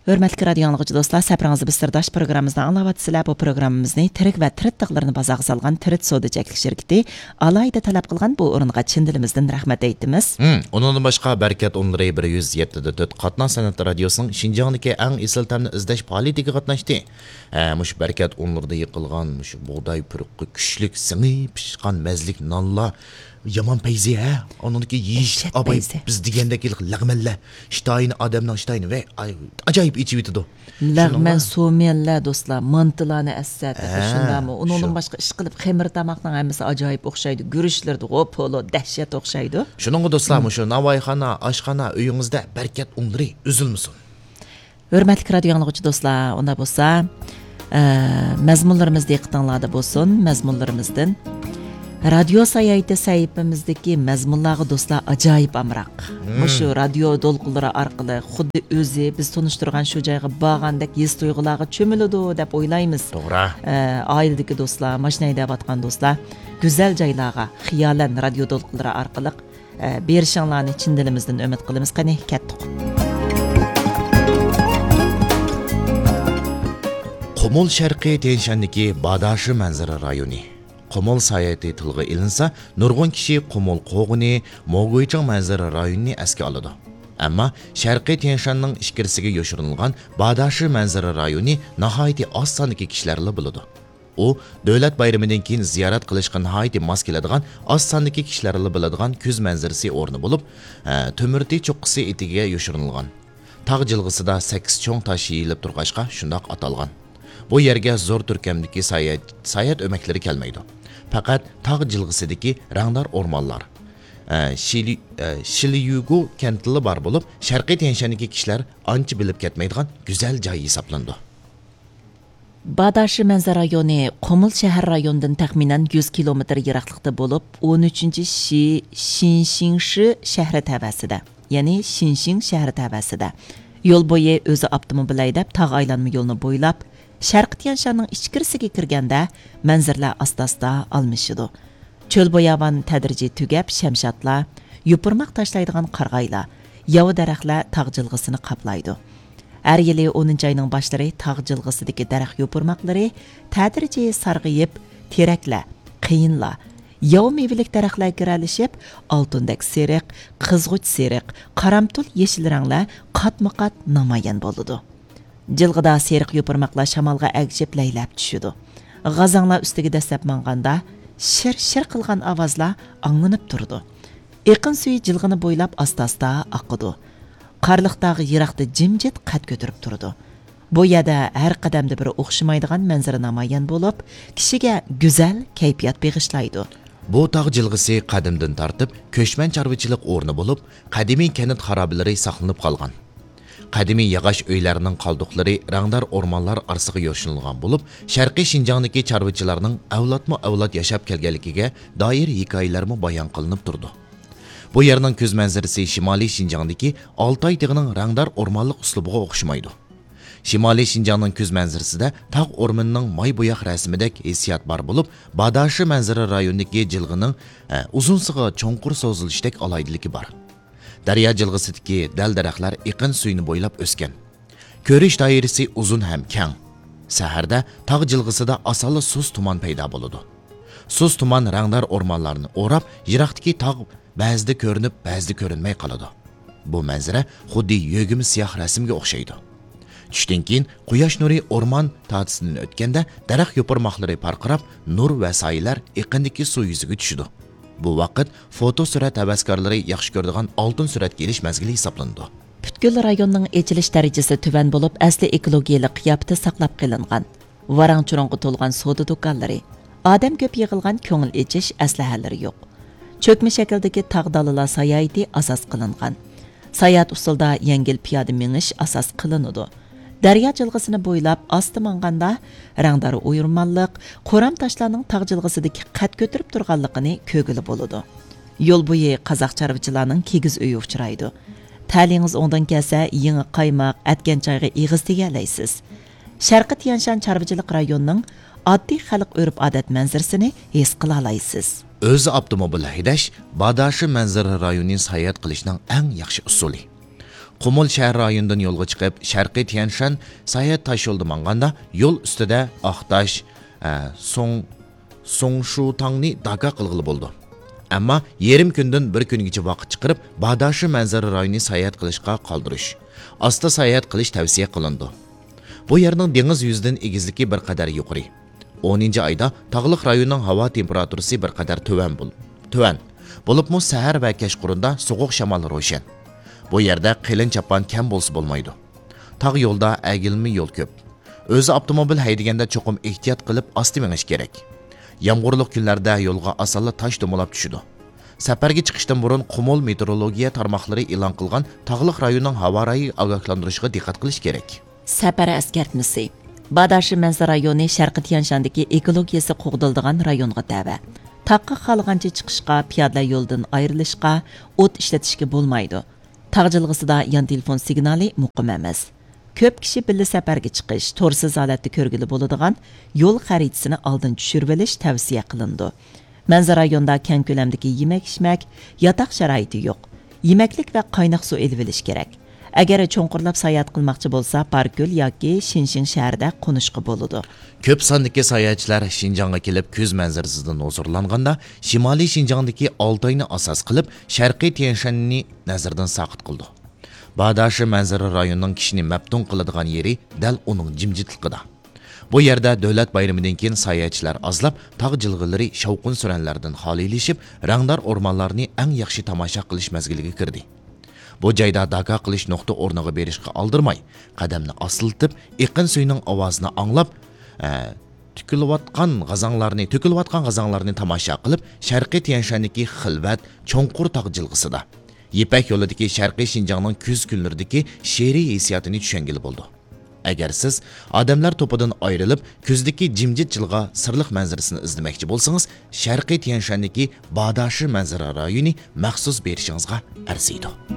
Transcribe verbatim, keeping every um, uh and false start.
ھۆرمەتلىك رادىيو ئاڭلىغۇچى دوستلار، سەپىرىڭىزدە بىز سىرداش پروگراممىمىزنى ئاڭلاۋاتىسىلەر. بۇ پروگراممىمىزنى تىرىك ۋە تىرىت تاغلىرىنى بازارغا سالغان تىرىت سودا چەكلىك شىركىتى ئالاھىدە تەلەپ قىلغان. بۇ ئورۇنغا چىن دىلىمىزدىن رەھمەت ئېيتىمىز. ھىم، ئۇنىڭدىن باشقا، بەرىكەت ئۇنلىرى بىر يۈز يەتتە دە تۆت قاتناش سەنئەت رادىيوسىنىڭ شىنجاڭدىكى ئەڭ ئېسىل تەمنى ئىزدەش پائالىيىتىگە قاتناشتى. ھە، مۇشۇ بەرىكەت ئۇنلىرىدا يېقىلغان مۇشۇ بۇغداي پۇرىقى كۈچلۈك سىڭىپ پىشقان مەززىلىك نانلار يامان پەيزى، ھە؟ ئۇنىڭدىكى يېيىش دەھشەت ئاپايى پەيزى. بىز دېگەندەك ھېلىقى لەغمەنلەر، شتاينى، ئادەمنىڭ شتاينى، ۋەي، ئاي، ئاجايىپ ئېچىۋېتىدۇ. لەغمەن، شۇنىڭغا سوميەنلەر، دوستلار، مانتىلارنى ئەسسەتىدۇ، ھە، شۇنداقمۇ؟ ئۇنىڭدىن شۇ. باشقا، ئىشقىلىپ، خېمىر تاماقنىڭ ھەممىسى ئاجايىپ ئوخشايدۇ. گۈرۈچلىرىدىغۇ، پولۇ، دەھشەت ئوخشايدۇ. شۇنىڭغا، دوستلار، مم. مۇشۇ ناۋايخانا، ئاشخانا، ئۆيىڭىزدە بەرىكەت ئۇنلىرى ئۈزۈلمىسۇن. ھۆرمەتلىك رادىيو ئاڭلىغۇچى دوستلار، ئۇنداق بولسا، ئە، مەزمۇنلىرىمىز دىققىتىڭلاردا بولسۇن، مەزمۇنلىرىمىزدىن. رادىيو ساياھىتى سەھىپىمىزدىكى مەزمۇنلارغا دوستلار ئاجايىپ ئامراق. مم. مۇشۇ رادىيو دولقۇنلىرى ئارقىلىق خۇددى ئۆزى بىز تونۇشتۇرغان شۇ جايغا بارغاندەك ھېس تۇيغۇلارغا چۆمۈلىدۇ دەپ ئويلايمىز. توغرا. ئە، ئائىلىدىكى دوستلار، ماشىنا ھەيدەۋاتقان دوستلار، گۈزەل جايلارغا خىيالەن رادىيو دولقۇنلىرى ئارقىلىق ئە، بېرىشىڭلارنى چىن دىلىمىزدىن ئۈمىد قىلىمىز. قېنى، كەتتۇق. قۇمۇل شەرقىي تيەنشاندىكى باداشى مەنزىرە رايونى. قۇمۇل ساياھىتى تىلغا ئېلىنسا، نۇرغۇن كىشى قۇمۇل قوغۇنى، موگۇيچىڭ مەنزىرە رايونىنى ئەسكە ئالىدۇ. ئەمما شەرقىي تيەنشاننىڭ ئىچكىرىسىگە يوشۇرۇنغان باداشى مەنزىرە رايونى ناھايىتى ئاز ساندىكى كىشىلەرلا بىلىدۇ. ئۇ دۆلەت بايرىمىدىن كېيىن زىيارەت قىلىشقا ناھايىتى ماس كېلىدىغان، ئاز ساندىكى كىشىلەرلا بىلىدىغان كۈز مەنزىرىسى ئورنى بولۇپ، ھە، تۆمۈرتى چوققىسى ئېتىكىگە يوشۇرۇنغان. تاغ جىلغىسىدا سەككىز چوڭ تاش يېيىلىپ تۇرغاچقا شۇنداق ئاتالغان. بۇ يەرگە زور تۈركەمدىكى ساياھەت، ساياھەت ئۆمەكلىرى كەلمەيدۇ. پەقەت تاغ جىلغىسىدىكى رەڭدار ئورمانلار، ھە، شىلى-، ھە، شىليۇگۇ كەنتىلا بار بولۇپ، شەرقىي تيەنشاندىكى كىشىلەر ئانچە بىلىپ كەتمەيدىغان گۈزەل جاي ھېسابلىنىدۇ. باداشى مەنزىرە رايونى قۇمۇل شەھەر رايونىدىن تەخمىنەن يۈز كىلومېتىر يىراقلىقتا بولۇپ، ئون ئۈچىنچى شى شىنشىڭشى شەھىرى تەۋەسىدە، يەنى شىنشىڭ شەھىرى تەۋەسىدە. يول بويى ئۆزى ئاپتوموبىل ھەيدەپ، تاغ ئايلانما يولنى بويلاپ، شەرقىي تيەنشاننىڭ ئىچكىرىسىگە كىرگەندە، مەنزىرىلەر ئاستا-ئاستا ئالمىشىدۇ. چۆل باياۋان تەدرىجىي تۈگەپ، شەمشادلار، يوپۇرماق تاشلايدىغان قارىغايلار، ياۋا دەرەخلەر تاغ جىلغىسىنى قاپلايدۇ. ھەر يىلى ئونىنچى ئاينىڭ باشلىرى تاغ جىلغىسىدىكى دەرەخ يوپۇرماقلىرى تەدرىجىي سارغىيىپ، تېرەكلەر، قېيىنلار، ياۋا مېۋىلىك دەرەخلەر گىرەلىشىپ، ئالتۇندەك سېرىق، قىزغۇچ سېرىق، قارامتۇل يېشىل رەڭلەر قاتمۇ قات نامايان بولىدۇ. جىلغىدا سېرىق يوپۇرماقلار شامالغا ئەگىشىپ لەيلەپ چۈشىدۇ. غازاڭلار ئۈستىگە دەسسەپ ماڭغاندا، شىر-شىر قىلغان ئاۋازلار ئاڭلىنىپ تۇرىدۇ. ئېقىن سۈيى جىلغىنى بويلاپ ئاستا-ئاستا ئاقىدۇ. قارلىق تاغ يىراقتا جىمجىت قەد كۆتۈرۈپ تۇرىدۇ. بۇ يەردە ھەر قەدەمدە بىر ئوخشىمايدىغان مەنزىرە نامايان بولۇپ، كىشىگە گۈزەل كەيپىيات بېغىشلايدۇ. بۇ تاغ جىلغىسى قەدىمدىن تارتىپ كۆچمەن چارۋىچىلىق ئورنى بولۇپ، قەدىمىي كەنت خارابىلىرى ساقلىنىپ قالغان. قەدىمىي ياغاچ ئۆيلەرنىڭ قالدۇقلىرى رەڭدار ئورمانلار ئارىسىغا يوشۇرۇنغان بولۇپ، شەرقىي شىنجاڭدىكى چارۋىچىلارنىڭ ئەۋلادمۇ ئەۋلاد ياشاپ كەلگەنلىكىگە دائىر ھېكايىلەرمۇ بايان قىلىنىپ تۇرىدۇ. بۇ يەرنىڭ كۈز مەنزىرىسى شىمالىي شىنجاڭدىكى ئالتاي تېغىنىڭ رەڭدار ئورمانلىق ئۇسلۇبىغا ئوخشىمايدۇ. شىمالىي شىنجاڭنىڭ كۈز مەنزىرىسىدە تاغ ئورمىنىنىڭ ماي بوياق رەسىمىدەك ھېسسىيات بار بولۇپ، باداشى مەنزىرە رايونىدىكى جىلغىنىڭ، ئە، ئۇزۇنسىغا چوڭقۇر سوزۇلۇشتەك ئالاھىدىلىكى بار. دەريا جىلغىسىدىكى دەل-دەرەخلەر ئېقىن سۈيىنى بويلاپ ئۆسكەن. كۆرۈش دائىرىسى ئۇزۇن ھەم كەڭ. سەھەردە تاغ جىلغىسىدا ئاسانلا سۇس تۇمان پەيدا بولىدۇ. سۇس تۇمان رەڭدار ئورمانلارنى ئوراپ، يىراقتىكى تاغ بەزىدە كۆرۈنۈپ، بەزىدە كۆرۈنمەي قالىدۇ. بۇ مەنزىرە خۇددى يۆگىمە سىياھ رەسىمگە ئوخشايدۇ. چۈشتىن كېيىن قۇياش نۇرى ئورمان تارتىسىدىن ئۆتكەندە، دەرەخ يوپۇرماقلىرى پارقىراپ، نۇر ۋە سايىلەر ئېقىندىكى سۇ يۈزىگە چۈشىدۇ. بۇ ۋاقىت فوتو سۈرەت ھەۋەسكارلىرى ياخشى كۆرىدىغان ئالتۇن سۈرەتكە ئېلىش مەزگىلى ھېسابلىنىدۇ. پۈتكۈل رايوننىڭ ئېچىلىش دەرىجىسى تۆۋەن بولۇپ، ئەسلى ئېكولوگىيەلىك قىياپىتى ساقلاپ قېلىنغان. ۋاراڭ-چۇرۇڭغا تولغان سودا دۇكانلىرى، ئادەم كۆپ يىغىلغان كۆڭۈل ئېچىش ئەسلىھەلىرى يوق. چۆكمە شەكىلدىكى تاغ دالىلار ساياھىتى ئاساس قىلىنغان. ساياھەت ئۇسۇلىدا يەڭگىل پىيادە مېڭىش ئاساس قىلىنىدۇ. دەريا جىلغىسىنى بويلاپ ئاستا ماڭغاندا، رەڭدار ئويۇرمانلىق، قورام تاشلارنىڭ تاغ جىلغىسىدىكى قەد كۆتۈرۈپ تۇرغانلىقىنى كۆرگىلى بولىدۇ. يول بويى قازاق چارۋىچىلارنىڭ كىگىز ئۆيى ئۇچرايدۇ. تەلىيىڭىز ئوڭدىن كەلسە، يېڭى قايماق، ئەتكەن چايغا ئېغىز تېگەلەيسىز. شەرقىي تيەنشان چارۋىچىلىق رايونىنىڭ ئاددىي خەلق ئۆرپ-ئادەت مەنزىرىسىنى ھېس قىلالايسىز. ئۆزى ئاپتوموبىل ھەيدەش باداشى مەنزىرە رايونى ساياھەت قىلىشنىڭ ئەڭ ياخشى ئۇسۇلى. قۇمۇل شەھەر رايونىدىن يولغا چىقىپ، شەرقىي تيەنشان ساياھەت تاش يولىدا ماڭغاندا، يول ئۈستىدە ئاقتاش، ئە، سۇڭ، سۇڭشۇتاڭنى داكا قىلغىلى بولىدۇ. ئەمما يېرىم كۈندىن بىر كۈنگىچە ۋاقىت چىقىرىپ، باداشى مەنزىرە رايونىنى ساياھەت قىلىشقا قالدۇرۇش، ئاستا ساياھەت قىلىش تەۋسىيە قىلىنىدۇ. بۇ يەرنىڭ دېڭىز يۈزىدىن ئېگىزلىكى بىر قەدەر يۇقىرى. ئونىنچى ئايدا تاغلىق رايوننىڭ ھاۋا تېمپېراتۇرىسى بىر قەدەر تۆۋەن بول-، تۆۋەن. بولۇپمۇ سەھەر ۋە كەچقۇرۇندا سوغۇق شامال روشەن. بۇ يەردە قېلىن چاپان كەم بولسا بولمايدۇ. تاغ يولدا ئەگىلمە يول كۆپ. ئۆزى ئاپتوموبىل ھەيدىگەندە چوقۇم ئېھتىيات قىلىپ ئاستا مېڭىش كېرەك. يامغۇرلۇق كۈنلەردە يولغا ئاسانلا تاش دومىلاپ چۈشىدۇ. سەپەرگە چىقىشتىن بۇرۇن قۇمۇل مېتېئورولوگىيە تارماقلىرى ئېلان قىلغان تاغلىق رايوننىڭ ھاۋا رايى ئاگاھلاندۇرۇشىغا دىققەت قىلىش كېرەك. سەپەر ئەسكەرتمىسى. باداشى مەنزىرە رايونى شەرقىي تيەنشاندىكى ئېكولوگىيەسى قوغدىلىدىغان رايونغا تەۋە. تاغقا خالىغانچە چىقىشقا، پىيادىلەر يولىدىن ئايرىلىشقا، ئوت ئىشلىتىشكە بولمايدۇ. تاغ جىلغىسىدا يان تېلېفون سىگنالى مۇقىم ئەمەس. كۆپ كىشى بىللە سەپەرگە چىقىش، تورسىز ھالەتتە كۆرگىلى بولىدىغان يول خەرىتىسىنى ئالدىن چۈشۈرۈۋېلىش تەۋسىيە قىلىنىدۇ. مەنزىرە رايونىدا كەڭ كۆلەمدىكى يېمەك-ئىچمەك، ياتاق شارائىتى يوق. يېمەكلىك ۋە قايناق سۇ ئېلىۋېلىش كېرەك. ئەگەر چوڭقۇرلاپ ساياھەت قىلماقچى بولسا، باركۆل ياكى شىنشىڭ شەھىرىدە قونۇشقا بولىدۇ. كۆپ ساندىكى ساياھەتچىلەر شىنجاڭغا كېلىپ، كۈز مەنزىرىسىدىن ھۇزۇرلانغاندا، شىمالىي شىنجاڭدىكى ئالتاينى ئاساس قىلىپ، شەرقىي تيەنشاننى نەزەردىن ساقىت قىلىدۇ. باداشى مەنزىرە رايونىنىڭ كىشىنى مەپتۇن قىلىدىغان يېرى دەل ئۇنىڭ جىمجىتلىقىدا. بۇ يەردە دۆلەت بايرىمىدىن كېيىن ساياھەتچىلەر ئازلاپ، تاغ جىلغىلىرى شاۋقۇن-سۈرەنلەردىن خالىيلىشىپ، رەڭدار ئورمانلارنى ئەڭ ياخشى تاماشا قىلىش مەزگىلىگە كىردى. بۇ جايدا داكا قىلىش نۇقتا ئورنىغا بېرىشقا ئالدىرماي، قەدەمنى ئاستىلىتىپ، ئېقىن سۈيىنىڭ ئاۋازىنى ئاڭلاپ، ئە، تۆكۈلۈۋاتقان غازاڭلارنى، تۆكۈلۈۋاتقان غازاڭلارنى تاماشا قىلىپ، شەرقىي تيەنشاندىكى خىلۋەت، چوڭقۇر تاغ جىلغىسىدا، يىپەك يولىدىكى شەرقىي شىنجاڭنىڭ كۈز كۈنلىرىدىكى شېئىرىي ھېسسىياتىنى چۈشەنگىلى بولىدۇ. ئەگەر سىز ئادەملەر توپىدىن ئايرىلىپ، كۈزدىكى جىمجىت جىلغا سىرلىق مەنزىرىسىنى ئىزدىمەكچى بولسىڭىز، شەرقىي تيەنشاندىكى باداشى مەنزىرە رايونى مەخسۇس بېرىشىڭىزغا ئەرزىيدۇ.